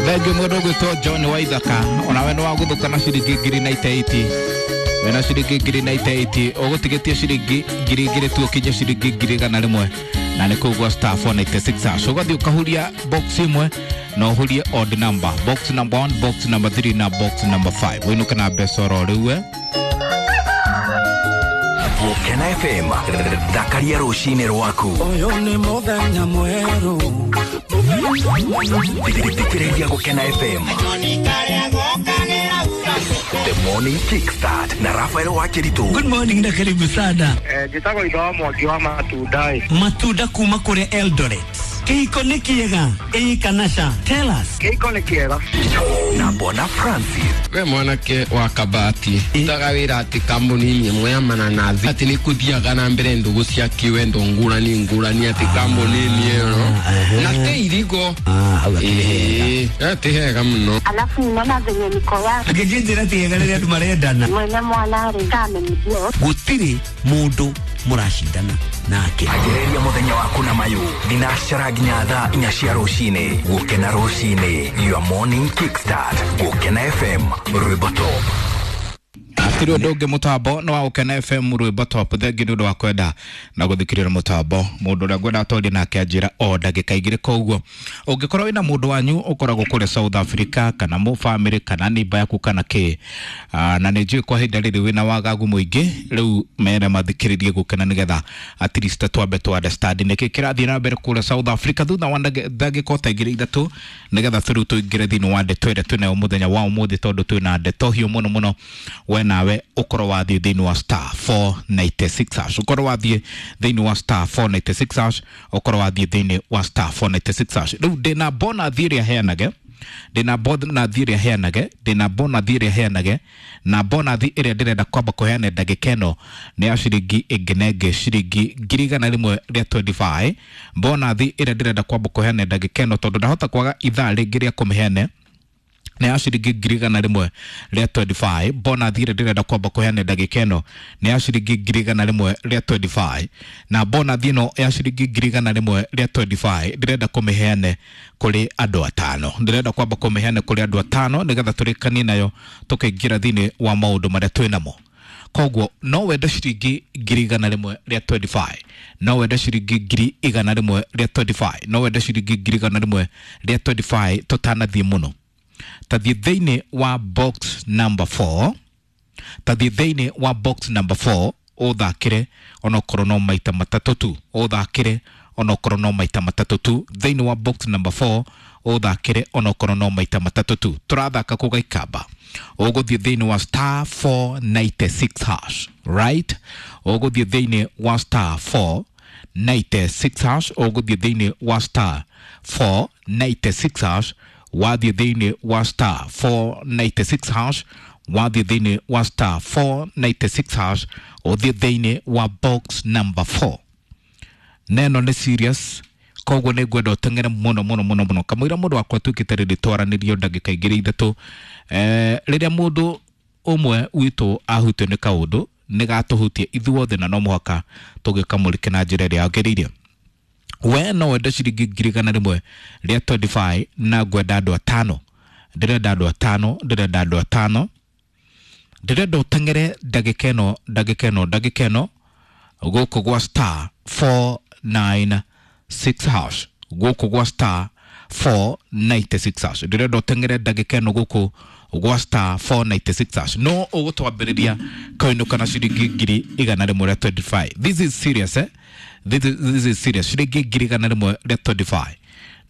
Thengiũ mũndũ ũgwĩtwo John Waithaka, onawe nĩ wagũthũka na ciringi ngiri 98. Wĩna ciringi ngiri 98, ũgũtigĩtie ciringi 2,000 tu ũkinye ciringi 100,000, na nĩ kũu gwa star 496 hash. Ũgathiĩ ũkahuria box ĩmwe na ũhurie odd number, box number 1, box number 3 na box number 5, wĩinũke na mbeca oro rĩu we. Gũkena FM, thakaria rũcinĩ rwaku. Ũyũ nĩ mũthenya mwerũ. Thikĩrĩria Gũkena FM. The Morning Kickstart na Rafael Wakiritu. Good morning na karibu sana. Njĩtagwo itho wa Mwangi wa matunda ĩ. Matunda kuma kũrĩa Eldoret. Kĩhiko nĩ kĩega ĩĩ kana ca? Tell us. Kĩhiko nĩ kĩega. Na Bona Francis. We mwanake wa kabati utaga wĩra atĩ kambuni-inĩ ĩmwe ya mananathi atĩ nĩ kũthiaga na mbere ndũgũ cia kĩwendo ngũrani ngũrani atĩ kambuni-inĩ ĩyo na tĩ irigo. Hau akĩrĩ hega. Ĩĩ, atĩ hega mũno. Alafu ninaona venye niko yake Angĩnjĩra ti hega rĩrĩa andũ marendana. Mwene mwana rĩ kamenyithio. Gũtirĩ mũndũ mũracindana nake. Anjĩrĩria mũthenya waku na mayũ thinacara nginya thaa 4 cia rũcinĩ. Gũkena rũcinĩ, your morning kickstart. Gũkena FM, rwĩmbo top. Hatirĩ ũndũ ũngĩ, mũtambo nĩ wa Gũkena FM, rwĩmbo top. Thengiũ nĩ ũndũ wa kwenda na gũthikĩrĩria mũtambo. Mũndũ ũrĩa ngwenda atwarie nake anjĩra o ndagĩka 2. Koguo ũngĩkorwo wĩna mũndũ wanyu ũkoragwo kũrĩa South Africa, kana mũ family, kana neighbor yaku, kana kĩ, na nĩ njũĩ kwa ihinda rĩrĩ wĩna wagagu mũingĩ, rĩu mere mathikĩrĩrie Gũkena nĩgetha at least twambe tu understand nĩkĩ kĩrathiĩ na mbere kũrĩa South Africa thutha wa ndagĩka o ta 2 3, nĩgetha tũrĩu tũingĩre thĩinĩ wa ndeto ĩrĩa twĩnayo mũthenya wa ũmũthĩ, tondũ twĩna ndeto hiũ mũno mũno. We nawe ũkorwo wathiĩ thĩinĩ wa star 496 hash, ũkorwo wathiĩ thĩinĩ wa star 496 hash, ũkorwo wathiĩ thĩinĩ wa star 496 hash. Rĩu ndĩna bonathi ĩrĩa heanage, ndĩna bonathi ĩrĩa heanage, ndĩna bonathi ĩrĩa heanage, na bonathi ĩrĩa ndĩrenda kwamba kũheana ndagĩka ĩno nĩ ya ciringi ĩngĩ na ĩngĩ ciringi 125,000. Bonathi ĩrĩa ndĩrenda kwamba kũheana ndagĩka ĩno, tondũ ndahota kwaga ithaa rĩngĩ rĩa kũmĩheana, nĩ ya ciringi 125,000. Bonathi ĩrĩa ndĩrenda kwamba kũheana ndagĩka ĩno nĩ ya ciringi 125,000, na bonathi ĩno ya ciringi 125,000 ndĩrenda kũmĩheane kũrĩ andũ atano. Ndĩrenda kwamba kũmĩheana kũrĩ andũ atano nĩgetha tũrĩkanie nayo tũkaingĩra thĩinĩ wa maũndũ marĩa twĩnamo. Koguo no wende ciringi 125,000, no wende ciringi 125,000, no wende ciringi 125,000. Tũtanathiĩ mũno, tathiĩ thĩinĩ wa box number 4, tathiĩ thĩinĩ wa box number 4, ũthakĩre onokorwo no maita matatũ tu, ũthakĩre onokorwo no maita matatũ tu thĩinĩ wa box number 4, ũthakĩre onokorwo no maita matatũ tu. Tũrathaka kũ Gaikamba. Ũgũthiĩ thĩinĩ wa star 496 hash, right? Ũgũthiĩ thĩinĩ wa star 496 hash, ũgũthiĩ thĩinĩ wa star 496 hash, wathiĩ thĩinĩ wa star 496 hash, wathiĩ thĩinĩ wa star 496 hash, ũthiĩ thĩinĩ wa box number 4. Neno nĩ serious, koguo nĩ ngwenda ũteng'ere mũno mũno mũno mũno kamũira mũndũ wakwa tuĩkĩte rĩrĩ twaranĩrio ndagĩka 2 3. Rĩrĩa mũndũ ũmwe witũ ahutio nĩ kaũndũ, nĩ gatũhutie ithuothe, na no mũhaka tũgĩkamũrĩke na njĩra ĩrĩa yagĩrĩire. We no wende ciringi 125,000, na ngwenda andũ atano, ndĩrenda andũ atano, ndĩrenda andũ atano, ndĩrenda ũteng'ere ndagĩka ĩno, ndagĩka ĩno, ndagĩka ĩno, gũkũ gwa star 496 hash, gũkũ gwa star 496 hash. Ndĩrenda ũteng'ere ndagĩka ĩno gũkũ gwa star 496 hash, no ũgũtwambĩrĩria kainũka na ciringi 125,000. This is serious, eh? This is serious. Ciringi 125,000,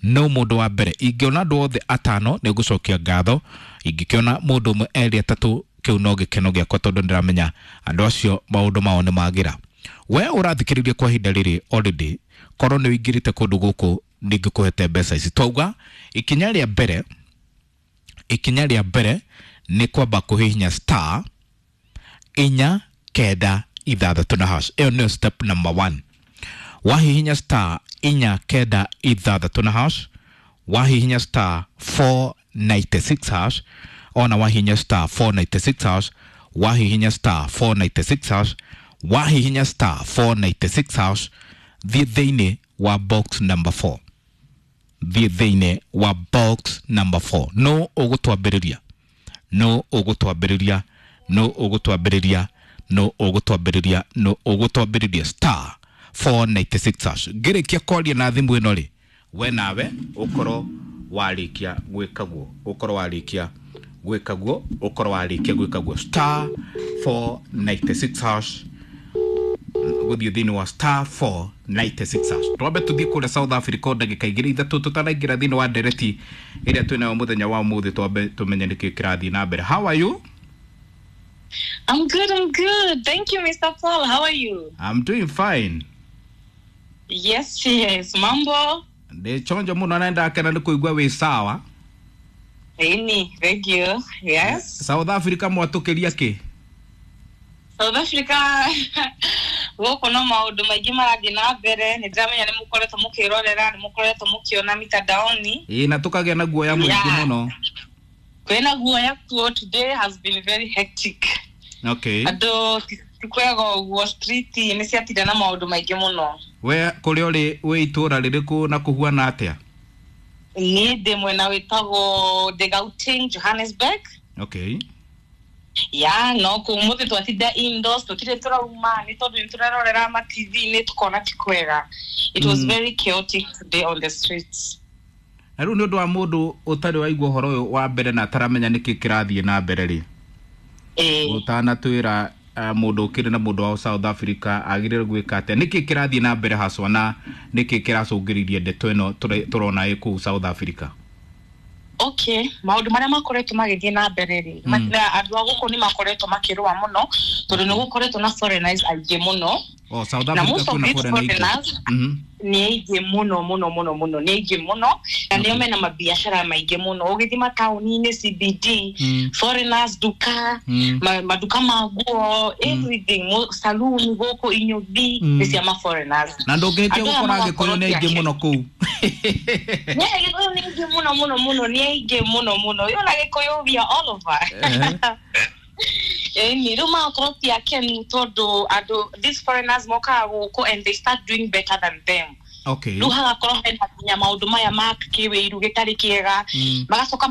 no mũndũ wa mbere. Ingĩona andũ othe atano nĩ ngũcokia ngatho, ingĩkĩona mũndũ ũmwe, erĩ, atatũ, kĩu no gĩkeno gĩakwa, tondũ ndĩramenya andũ acio maũndũ mao nĩ magĩra. We ũrathikĩrĩria kwa ihinda rĩrĩ, already korwo nĩ ũingĩrĩte kũndũ gũkũ, nĩngĩkũhete mbeca ici. Twauga ikinya rĩa mbere, ikinya rĩa mbere nĩ kwamba kũhihinya star 496 na hash. Ĩyo nĩyo step number 1. Wahihinya star 496 na hash, wahihinya star 496 hash, ona wahihinya star 496 hash, wahihinya star 496 hash, wahihinya star 496 hash, thiĩ thĩinĩ wa box number 4. Thiĩ thĩinĩ wa box number 4. No ũgũtwambĩrĩria, no ũgũtwambĩrĩria, no ũgũtwambĩrĩria, no ũgũtwambĩrĩria, no ũgũtwambĩrĩria star 496 hash. Ngĩrĩkia kwaria na thimũ ĩno rĩ, we nawe ũkorwo warĩkia gwĩka guo, ũkorwo warĩkia gwĩka guo, ũkorwo warĩkia gwĩka guo star 496 hash, gũthiĩ thĩinĩ wa star 496 hash. Twambe tũthiĩ kũrĩa South Africa o ndagĩka igĩrĩ ithatũ tũtanaingĩra thĩinĩ wa ndereti ĩrĩa twĩnayo mũthenya wa ũmũthĩ, twambe tũmenye nĩkĩ kĩrathiĩ na mbere. How are you? I'm good, I'm good. Thank you, Mr. Paul. How are you? I'm doing fine. Yes, yes. Mambo. Ndĩ chonjo mũno na ndakena nĩ kũigua wĩ sawa. Eni, thank you. Yes. South Africa mwatũkĩria kĩ? South Africa gũkũ no maũndũ maingĩ marathiĩ na mbere. Nĩ ndĩramenya nĩ mũkoretwo mũkĩrorera, nĩ mũkoretwo mũkĩona mitandaoni. Ĩĩ, na tũkagĩa na guoya mũingĩ mũno. Kwĩna guoya kuo. Today has been very hectic. Andũ ti kwega ũguo, street nĩ ciatinda na maũndũ maingĩ mũno. We kũrĩa ũrĩ wĩ itũũra rĩrĩkũ na kũhuana atĩa? Niĩ ndĩ mwena wĩtagwo ndĩ Gauteng, Johannesburg. Ya no kå må thä twatinda indoors, tũtirĩ tũrauma nĩ tondũ nĩ tũrarorera ma TV-inĩ tũkona ti kwega. It was very chaotic today on the streets. Na rĩu nĩ ũndũ wa mũndũ ũtarĩ waigua ũhoro ũyũ wa mbere na ataramenya nĩkĩ kĩrathiĩ na mbere rĩ, ũtanatwĩra mũndũ ũkĩrĩ na mũndũ wa South Africa agĩrĩire gwĩka atĩa, nĩkĩ kĩrathiĩ na mbere haswa na nĩkĩ kĩracũngĩrĩirie ndeto ĩno tũrona ĩ kũu South Africa? Okay, maũndũ marĩa makoretwo magĩthiĩ na mbere rĩ, na andũ a gũkũ nĩ makoretwo makĩrũa mũno tondũ nĩ gũkoretwo na foreigners aingĩ mũno. Oh, South Na Africa most of kwĩna these foreigner aingĩ. foreigners nĩ aingĩ mũno mũno mũno mũno, nĩ aingĩ mũno na nĩo mena mabiacara maingĩ mũno. Ũgĩthiĩ mataũni-inĩ CBD, foreigners duka, maduka ma nguo, everything, saloon gũkũ inyũthi nĩ cia ma foreigners. Na ndũngĩhĩtia Andũ aya gũkora magakorwo Agĩkũyũ nĩ aingĩ ti mũno kũu. Nĩ Agĩkũyũ nĩ aingĩ mũno mũno mũno, nĩ aingĩ mũno mũno. Yona Gĩkũyũ we are all over. Ĩni rĩu magakorwo ti akenu tondũ andũ these foreigners mokaga gũkũ and they start doing better than them. Rĩu hagakorwo hena nginya maũndũ maya ma kĩwĩiru gĩtarĩ kĩega, magacoka.